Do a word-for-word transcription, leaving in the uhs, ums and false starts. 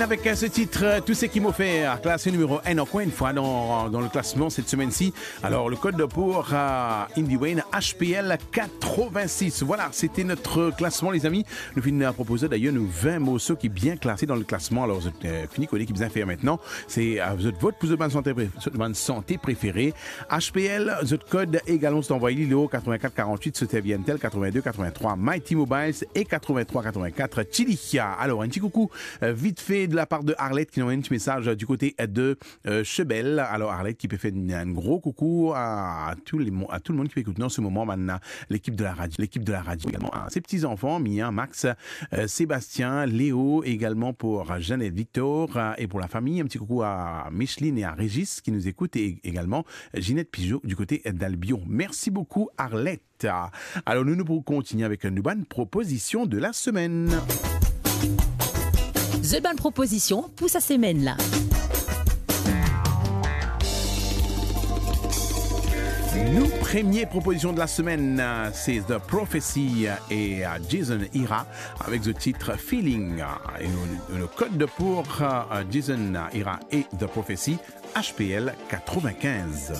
Avec, euh, ce titre, euh, Tout ce qui m'offert, classé numéro un encore une fois dans, dans le classement cette semaine-ci. Alors, le code pour, euh, Indie Wayne, H P L quatre-vingt-six. Voilà, c'était notre classement, les amis. Nou finn, euh, propoze d'ailleurs nou vingt morso ki bien klase dan le klasman. Alor, zot, euh, fini kone ki bizin fer aster. Se, euh, zot vot pou zot bann sante pre-, zot bann sante prefere. H P L, zot kod egalman, zot anvoy li lor quatre-vingt-quatre quarante-huit, Soterbientel quatre-vingt-deux quatre-vingt-trois, Mighty Mobiles e quatre-vingt-trois quatre-vingt-quatre, Chilichia. Alor, enn ti koukou, euh, vit fe de la par de Arlette ki nou anvoy enn ti mesaz, euh, du kote, euh, de, euh, Chebel. Alor, Arlette ki pe fer enn, enn gro koukou a tou le mo-, a tou le mond ki pe ekout nou an se moman, bann, euh, lekip de la radio, lekip de la radio egalman, hein. Ses petits-enfants, Mia, Max, euh, Sébastien, Léo, également pour Jeannette Victor, euh, et pour la famille. Un petit coucou à Micheline et à Régis qui nous écoutent, et également Ginette Pigeot du côté d'Albion. Merci beaucoup, Arlette. Alor, nou, nou pou kontinie avek nou bann propozision de la semaine. Zot bann propozision pou sa semenn la. Nou premie propozision de la semaine, euh, c'est The Prophecy, euh, et, euh, Jason Ira avec le titre Feeling. Euh, et le, le code pour, euh, Jason Ira et The Prophecy, H P L quatre-vingt-quinze.